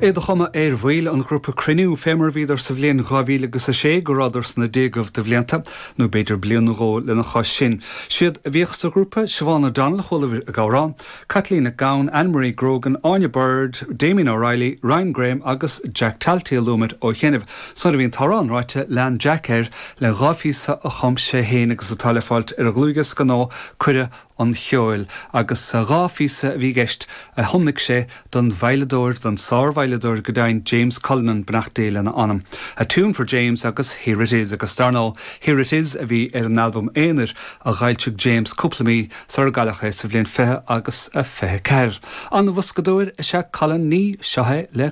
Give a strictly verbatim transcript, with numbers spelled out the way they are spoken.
É de chuma ar bhaill an ghrúpa Cruinniú fé mar a bhíodar sa bhliain dhá mhíle agus a sé go rabhadar sna déagaibh de bhlianta, nó b'fhéidir bliain nó dhó lena chois sin. Siad a bhíodh sa ghrúpa Siobhán O'Donnell chuala ag amhrán, Caitlín Nic Gabhann, Anne-Marie Grogan, Áine Bird, Damien O'Reilly, Ryan Graham agus Jack Talty a luaigh muid ó chianaibh. Nuair a bhí an t-amhrán ráite lean Jack air le dhá phíosa a chum sé féin agus atá le fáilt ar a dhlúthdhiosca nua Cuireadh an Cheoil agus dhá phíosa a bhí i gceist a thiomnaigh sé don veidhleadóir don sárveidhleadóir go deimhin James Cullinan beannacht Dé lena anam. A Tune for James agus Here It Is agus dar ndóigh Here It Is a bhí ar an albam aonair a d'fhoilsigh James cúpla mí sar a cailleadh é sa bhliain fiche agus a fiche ceathair. An bhoscadóir is ea Colin ní seo é le